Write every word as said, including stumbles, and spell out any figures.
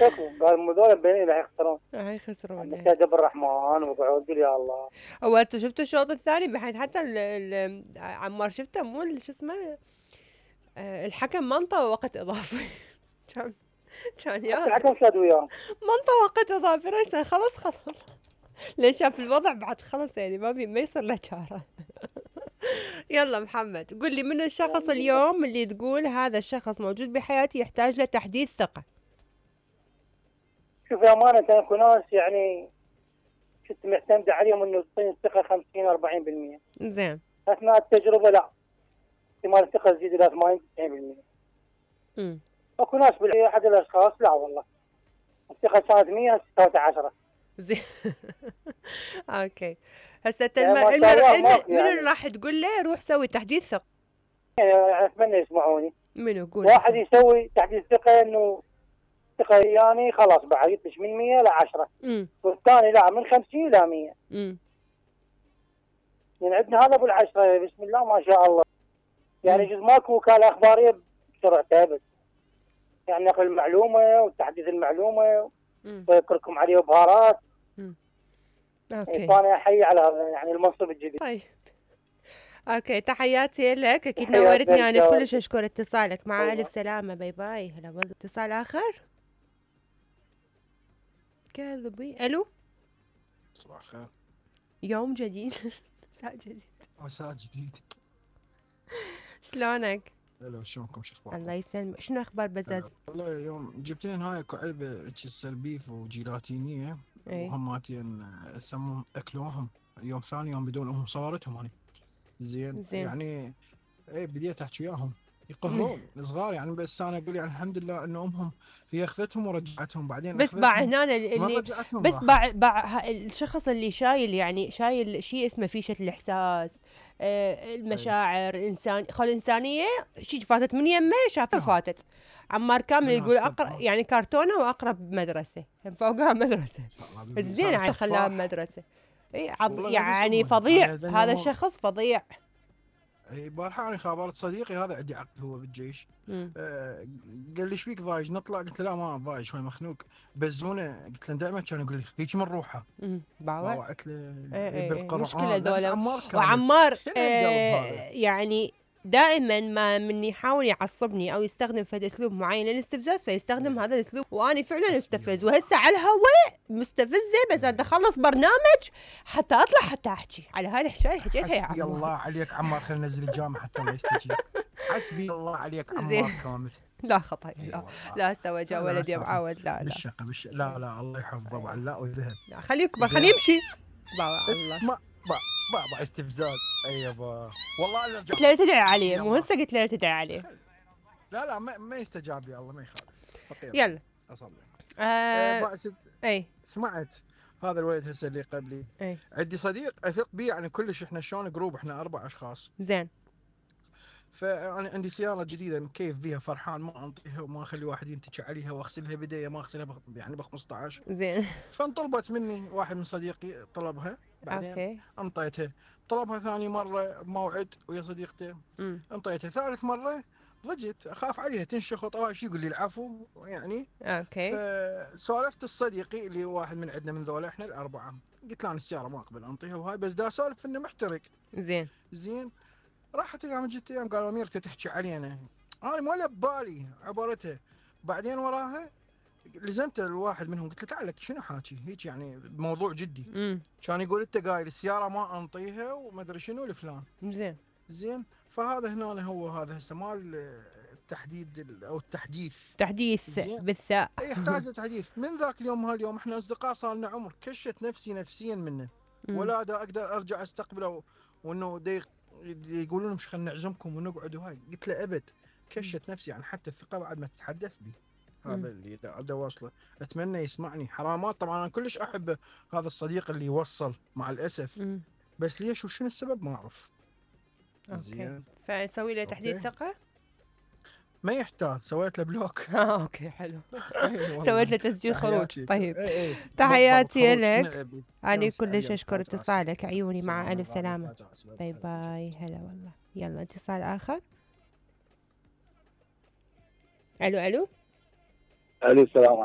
شكو قال مو ذولا بين راح يخسرون. راح يخسرون. نستهدف الرحمن وقعود يا الله. هو انتوا شفتوا الشوط الثاني بحيث حتى ال ال عمار شفته مو شو اسمه الحكم ما انطى وقت اضافي. كان كان يا الحكم شاد وياه ما انطى وقت اضافي راسا خلاص خلاص ليش شاف الوضع بعد خلص يعني ما بي ما يصير له چاره. يلا محمد قل لي من الشخص اليوم اللي تقول هذا الشخص موجود بحياتي يحتاج له تحديث ثقة؟ شوف أمانة اكو ناس يعني كنت معتمد عليهم انه تعطيني الثقة خمسين أربعين بالمئة. زين. اثناء التجربة لا. احتمال الثقة تزيد الى ثمانين تسعين بالمئة. امم. اكو ناس باحد الاشخاص لا والله. الثقة كانت مئة صارت عشرة. زين. اوكي. هسه يعني الم... المر... من يعني. اللي راح تقول له روح سوي تحديث ثقة؟ يعني اتمنى يسمعوني. منو قول؟ واحد يسوي تحديث ثقة انه ثقة يعني خلاص بعد يطش من مئة ل عشرة. امم. والثاني لا من خمسين الى مئة. امم. يعني عندنا هذا ابو العشرة بسم الله ما شاء الله. يعني جزء ماكو وكالة اخبارية بسرعتها بس. يعني نقل المعلومة وتحديث المعلومة ويذكركم عليه بهارات. امم. اوكي. فانا احيي على هذا يعني المنصب الجديد. طيب. اوكي تحياتي لك اكيد نورتني انا كلش اشكر اتصالك مع الف سلامة باي باي. هلا والله. اتصال اخر كذبي. الو صباح الخير. يوم جديد. مساء جديد. مساء جديد. شلونك؟ هلا شلونكم شو اخباركم؟ الله يسلمك. شنو اخبار بزاز؟ والله يوم جبت لنا هاي اكو علبه السلبيف وجيلاتينيه وهماتين يسمون اكلوهم يوم ثاني يوم بدون امهم صورتهم انا. زين. زين يعني اي بديت احكي وياهم يقهرون صغار يعني بس انا اقول يعني الحمد لله انه امهم هي اخذتهم ورجعتهم بعدين بس باع هنا اللي بس باع باع الشخص اللي شايل يعني شايل شيء اسمه فيشه الاحساس آه المشاعر الانسان خل الانسانيه شيء فاتت من يمه شافها فاتت. عمار كامل يقول اقرب يعني كرتونه واقرب مدرسه فوقها مدرسه الزين على خلاها مدرسه. اي يعني فظيع هذا الشخص فظيع. اي بارحه انا خابرت صديقي هذا عندي عقد هو بالجيش. آه قال لي ايش بيك ضايج نطلع؟ قلت له لا ما ضايج شوي مخنوق بزونه. قلت له دائما كان يقول لي هيك من روحه. امم باوع. باوعت له ايه بالقرآن. مشكله ذولا. عمار وعمار آه يعني دائما ما من يحاول يعصبني او يستخدم فد اسلوب معين للاستفزاز فيستخدم هذا الاسلوب وانا فعلا استفز وهسه على الهواء مستفزه بس بدي اخلص برنامج حتى اطلع حتى احكي على هاي الحكايه حكيتها يا عمار. حسبي الله عليك عمار خلينا ننزل الجامعه حتى لا يستجيب. حسبي الله عليك عمار كامل. لا خطأ لا لا استوى جا ولدي معود لا لا بالشقه بالشقه لا لا الله يحفظه وعلاء وذهب. لا خليه يكبر خليه يمشي. الله ما بابا استفزاز. اي يابا والله انا قلت له تدعي عليه مو هسه قلت له تدعي عليه. لا لا ما, ما يستجاب يا الله ما يخالف. فقير. يلا اصلي. آه أه اي سمعت هذا الولد هسه اللي قبلي. اي عندي صديق اثق به يعني كلش احنا شلون جروب احنا اربع اشخاص. زين. فانا عندي سياره جديده مكيف فيها فرحان ما انطيها وما اخلي واحد ينتج عليها واغسلها بدايه ما اغسلها بخ... يعني ب خمسطعش. زين. فانطلبت مني واحد من صديقي طلبها بعدين أوكي. انطيتها. طلبها ثاني مره بموعد ويا صديقته انطيتها. ثالث مره ضجت اخاف عليها تنشخ وطواش يقول لي العفو يعني. اوكي. فسولفت الصديقي اللي واحد من عندنا من ذولا احنا الاربعه قلت له انا السياره ما اقبل انطيها وهاي بس دا اسولف انه محترق. زين. زين. راحت ايام جت ايام قالوا اميرته تحكي علينا. انا ولا ببالي عبرتها. بعدين وراها لزمت الواحد منهم قلت له تعال لك شنو حاكي هيك يعني موضوع جدي. امم. كان يقول انت قايل السياره ما انطيها وما ادري شنو لفلان. زين. زين. فهذا هنا هو هذا هسه مال التحديد او التحديث. تحديث بالثاء. يحتاج تحديث. من ذاك اليوم هاليوم احنا اصدقاء صار لنا عمر كشت نفسي نفسيا منه. ولا دا اقدر ارجع استقبله وانه ديق يقولون مش خلينا نعزمكم ونقعد وهاي. قلت له ابد كشت نفسي يعني حتى الثقه بعد ما تتحدث بي. هذا اللي دا واصله. اتمنى يسمعني. حرامات طبعا انا كلش احب هذا الصديق اللي يوصل مع الاسف. مم. بس ليش وشنو السبب ما اعرف. اوكي. فسوي له تحديد ثقه؟ ما يحتاج سويت له بلوك. اه اوكي حلو. سويت له تسجيل خروج. طيب ايه ايه. تحياتي لك. انا كلش اشكر اتصالك عيوني مع الف سلامه. باي باي. هلا والله. يلا اتصال اخر. الو الو. الو السلام عليكم.